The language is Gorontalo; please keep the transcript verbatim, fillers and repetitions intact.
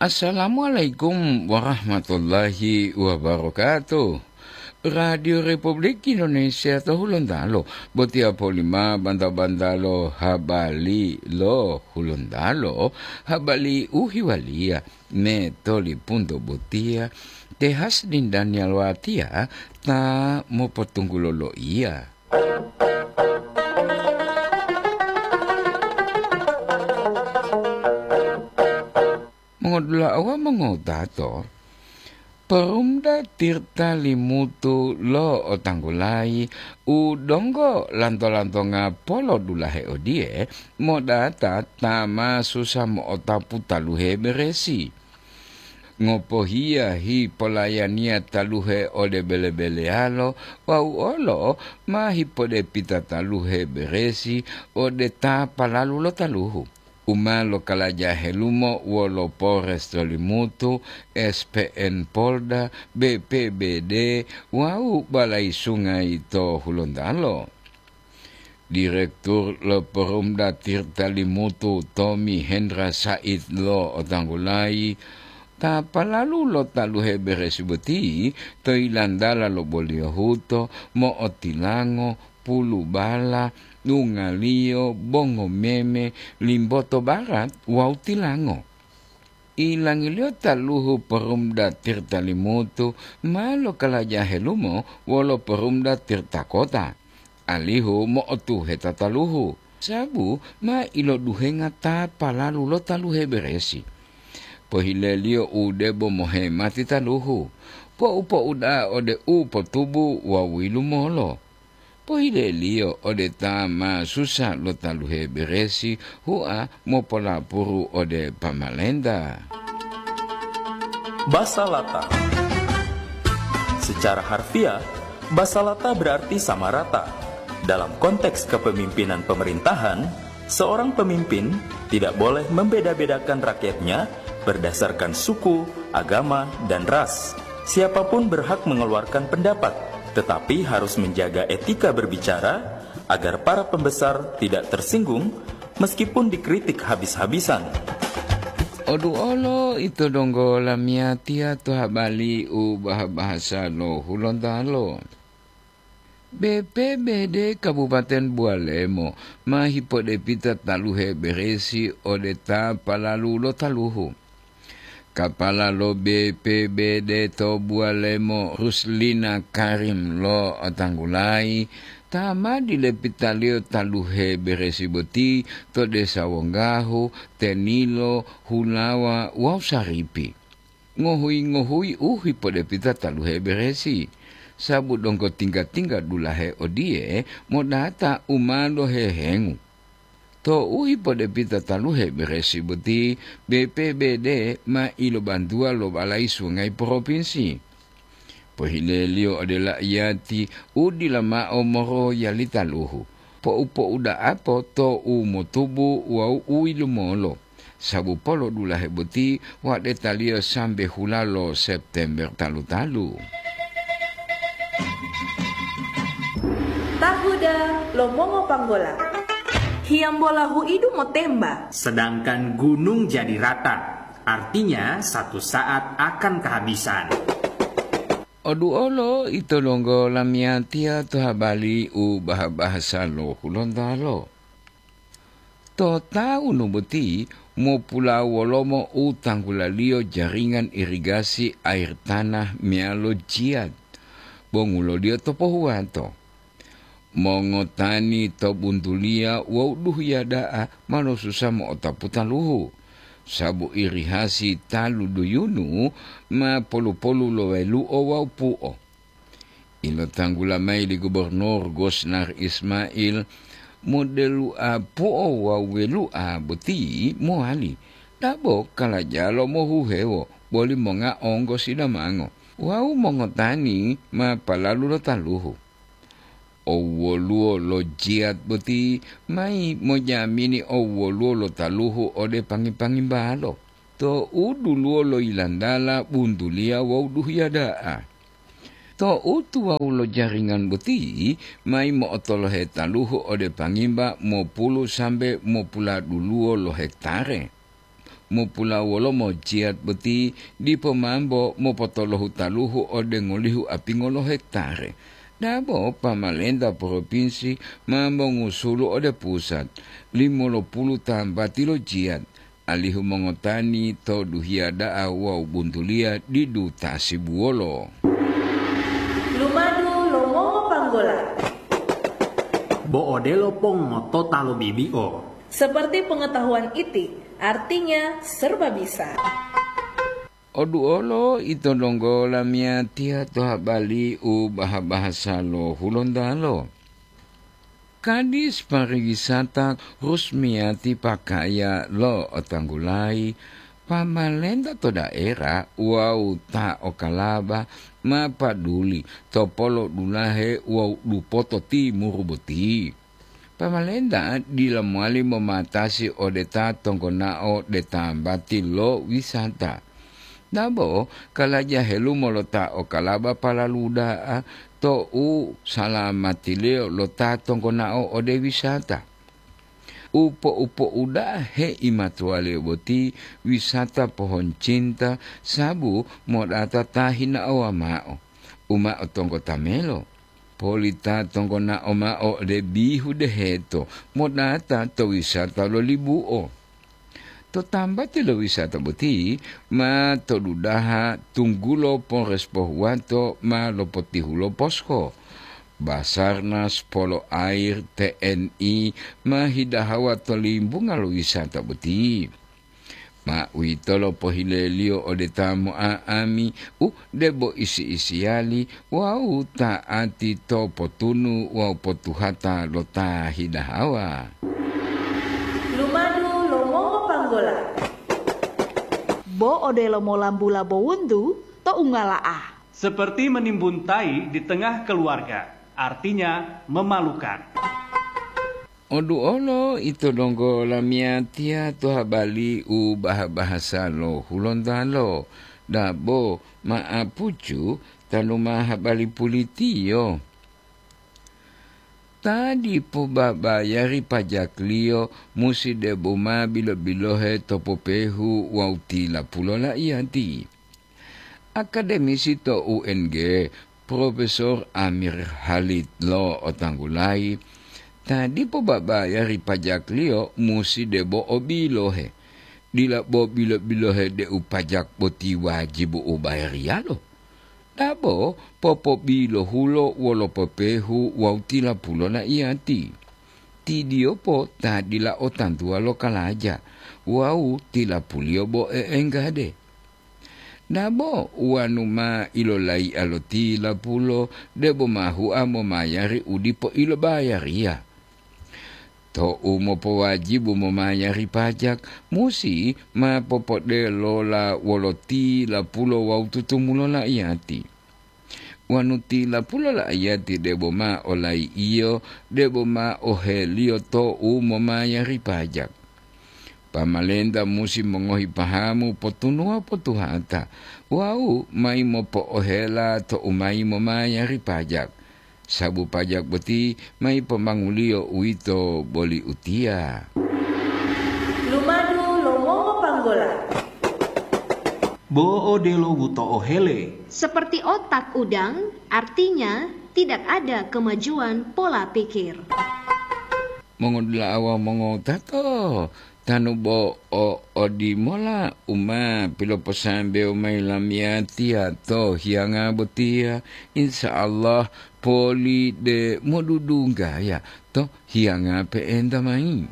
Assalamualaikum warahmatullahi wabarakatuh. Radio Republik Indonesia to Hulontalo, botiya polima banta-bantalo habali lo Hulontalo, habali uhiwaliya me tolipunto botiya, te Hasdin Daniel Watia ta mopotunggulo loiya. Mongodula'a wawu mongotato, Perumda Tirta Limutu lo otanggulayi u donggo lanto-lantonga polodulahe odiye, modata ta ma susa mo'otapu taluhe beresi. Ngopohiya hipolayaniya taluhe ode bele-beleyalo wawu olo ma hipodepita taluhe beresi ode ta palalu lo taluhu, u ma lokalaja helumo wolo Polres to Limutu, S P N Polda, B P B D wawu Balai Sungai to Hulontalo. Direktur lo Perumda Tirta Limutu, Tommy Hendra Said, lo otanggulayi ta palalu lo taluhe beresi boti to yilantala lo Boliyohuto, mo'otilango, Pulubala, Dungaliyo, Bongomeme, Limboto Barat wawu Tilango. Ilangiliyo taluhu Perumda Tirta Limutu ma lokalaja helumo wolo Perumda Tirta Kota, alihu mo'otuheta taluhu, sabu ma iloduhenga ta palalu lo taluhe beresi. Pohileliyo u debo mohemati taluhu, po'u-po'u da'a ode u potubu wawu yilumolo. Pohileliyo ode ta ma susa lo taluhe beresi, hua mopolapuru ode pamalenta. Basalata. Secara harfiah, basalata berarti sama rata. Dalam konteks kepemimpinan pemerintahan, seorang pemimpin tidak boleh membeda-bedakan rakyatnya berdasarkan suku, agama, dan ras. Siapapun berhak mengeluarkan pendapat, tetapi harus menjaga etika berbicara agar para pembesar tidak tersinggung meskipun dikritik habis-habisan. Oduolo ito donggo lamiyatiya to habali u baha-bahasa lo Hulontalo. B P B D Kabupaten Bualemo ma hipodepita taluhe beresi ode ta palalu lo taluhu. Kapala lo B P B D to Bualemo, Ruslina Karim, lo otanggulayi ta ma dilepitaliyo taluhe beresi boti to desa Wonggahu, Tenilo, Hulawa wawu Saripi. Ngohuyi-ngohuyi u hipodepita taluhe beresi, sabu donggo tingga-tingga dulahe odiye modata u ma lohehengu. Tou hipodepita taluhe beresi boti, B P B D ma ilobantuwa lo Balai Sungai Propinsi. Pohileliyo ode laiyati u dila mao moroyali taluhu, po'u-po'u da'apo to u motubu wawu u yilumolo, sabu polodulahe boti wadetaliyo sambe hula lo September talu-talu. Tahuda lo mongopanggola. Hiyambola huidu motemba. Sedangkan gunung jadi rata, artinya satu saat akan kehabisan. Oduolo ito donggo lamiyatiya to habali u baha-bahasa lo Hulontalo. To taunu boti mopulawolomo u tanggulaliyo jaringan irigasi air tanah meyalo jiyat, bonguloliyo to pohuwato. Mongotani to buntuliya wawu duhiya da'a ma losusa mo'otapu taluhu, sabu irihasi talu duyunu ma polu-polu lo welu'o wawu pu'o. Ilotanggula mayi li Gubernur Gosnar Ismail, modelu'a pu'o wawu welu'a boti mowali, dabo kalajalo mohuhewo boli monga onggo sidamango wawu mongotani ma palalu lo taluhu. Owwoluwo lo jiyat boti mayi mojamini owwoluwo lo taluhu ode pangi-pangimbalo, to u duluwo lo yilantala buntuliya wawu duhiya da'a. To u tuwawu lo jaringan boti mayi mo'otolohe taluhu ode pangimba mopulu sambe mopuladuluwo lo hektare. Mopulawolomo jiyat boti dipo mambo mopotolohu taluhu ode ngolihu apingo lo hektare. Dabo pamalenta propinsi mambo ngusulu ode pusat, limolopulu tambati lo jiyat, alihu mongotani to duhiya da'a wawu buntuliya didu tasibuwolo. Lumadu lo mongopanggola. Bo odelo pongotota lo bibi'o. Seperti pengetahuan iti, artinya serba bisa. Oduolo ito donggo lamiyatiya to habali u baha-bahasa lo Hulontalo. Kadis pariwisata rusmiyati pakaya lo otanggulayi, pamalenta to daerah wawu ta okalaba ma paduli to polo dulahe wawu dupoto timuru boti. Pamalenta dila mowali momatasi ode ta tonggonao de tambati lo wisata. Dabo kalaja helumo lo ta okalaba palalu da'a to u salamatiliyo lo ta tonggonao ode wisata. Upo-upo uda'a heimatuwaliyo boti wisata pohon cinta sabu modata ta hinaowa ma'o, u ma'o tonggo tamelo. Polita tonggonao ma'o ode bihu deheto modata to wisata lo libu'o. To tambati lo wisata boti ma to dudaha tunggulo Polres Pohuwato ma lopotihulo posko. Basarnas, Polo Air, T N I ma hidahawa to limbunga lo wisata boti. Ma uwitolo pohileliyo ode ta mo'a'ami u debo isi-isiyali wawu ta'ati to potunu wawu potuhata lo ta hidahawa. Lumadu lo mongopanggola. Bo odelo molambula bowuntu to ungala'a. Seperti menimbun tai di tengah keluarga, artinya memalukan. Oduolo ito donggo lamiyatiya to habali u baha-bahasa lo Hulontalo, dabo ma'apucu tanu ma habali pulitiyo. Ta dipo babayari pajakliyo musi debo ma bilo-bilohe to popehu wawu tilapulo laiyati. Akademisi to U N G, Profesor Amir Halid lo otanggulayi, ta dipo babayari pajakliyo musi debo o bilohe. Dila bo bilo-bilohe deu pajak boti wajibu u bayariyalo. Dabo popobilohulo wolo popehu wawu tilapulo laiyati. Tidiyopo ta dila o tantuwa lo kalaja wawu tilapuliyo bo e'enggade. Dabo wanu ma ilolaiya lo tilapulo debo ma hua momayari u dipo ilobayariya. Tou mopowajibu momayari pajak, musi ma popodelola wolo tilapulo wawu tutumulo laiyati. Wanu tilapulo laiyati debo ma olai'iyo, debo ma oheliyo tou momayari pajak. Pamalenta musi mongohi pahamu potunuwa potuhata wawu mayi mopo'ohela tou mayi momayari pajak. Sabu pajak boti ma yipomanguliyo uwito boli utiya. Lumadu lo mongopanggola. Bo odelo wuto'o hele. Seperti otak udang, artinya tidak ada kemajuan pola pikir. Mongodula'a wawu mongotato, tanu bo o odimola u ma piloposambewo mayi lamiyatiya to hiyanga botiya, insya Allah poli de modudunggaya to hiyanga pe'enta mayi.